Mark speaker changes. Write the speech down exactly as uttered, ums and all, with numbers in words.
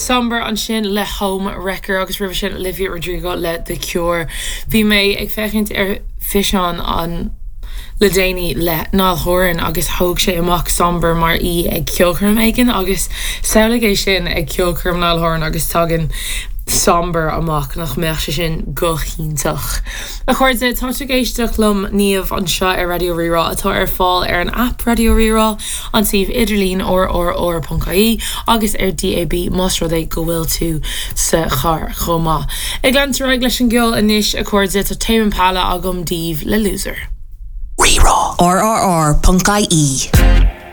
Speaker 1: Sombr ansin le Home Wrecker agus roimhe sin Olivia Rodrigo le The Cure. Bhí mé ag féachaint ar físeán an le déanaí le Niall Horan agus thóg sé amach Sombr mar í ag ceolchoirm éigin agus samhlaigh é sin ag ceolchoirm Niall Horan agus tagann Sombr amach nach mbeadh sé sin go hiontach. A chairde tá ag éisteacht liom Niamh anseo ar Raidió Rí-Rá atá ar fáil ar an app Raidió Rí-Rá an suíomh idirlín rrr.ie agus ar DAB más rud é go bhfuil tú sa charr chomh maith. Ag leanúint leis an gceol anois a chairde tá Tame Impala agam daoibh le loser.
Speaker 2: Rí-Rá. RRR.ie.